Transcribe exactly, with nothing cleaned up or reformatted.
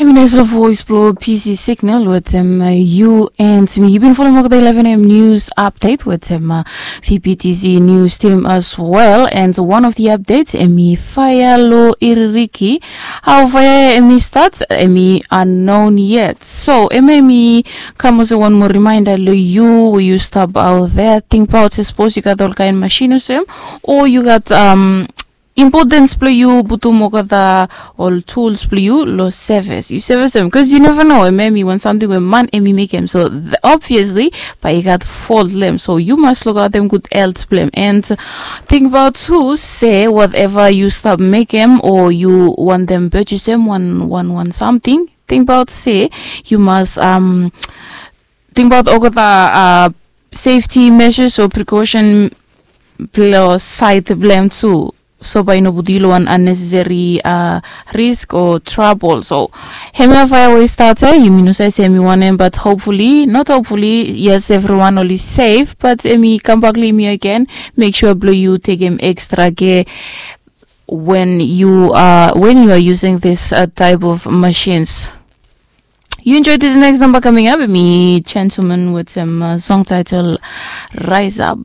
Em i naisfala voes blong PC Signal wetem yu and mi. Yu bin folem olgeta eleven am news update wetem VPTC news team as well. And one of the updates, em i faea long Iririki. Hao faea em i stat, em i unknown yet. So em em i kam olsem wan moa reminder long yu we yu stap aot there. Tingbaot se sapos yu gat olkaen masin olsem, o yu gat um, importance blong yu putum olgeta ol tools blong yu long sevis. Yu sevis em, bikos yu neva no, em em i wan samting we man em i mekem. So obviously bae i gat fault long em. So yu mas lukaotem gud health blong em. And tingbaot tu se whatever yu stap mekem o yu wantem purchasem wan wan wan samting, tingbaot se yu mas um, tingbaot olgeta uh, safety measures o precaution blong sait blong em tu. So bae i no putum yu long wan unnecessary uh, risk o trouble. So hemia faea we i stat ia, yumi no save se em i wanem, but hopefully, not hopefully, yes, everyone oli safe, but em i kambak long yumi again. Make sure blong yu tekem extra care when you are when you are using this uh, type of machines. You enjoy this next number coming up. Mi Gentleman with some uh, song title Rise Up.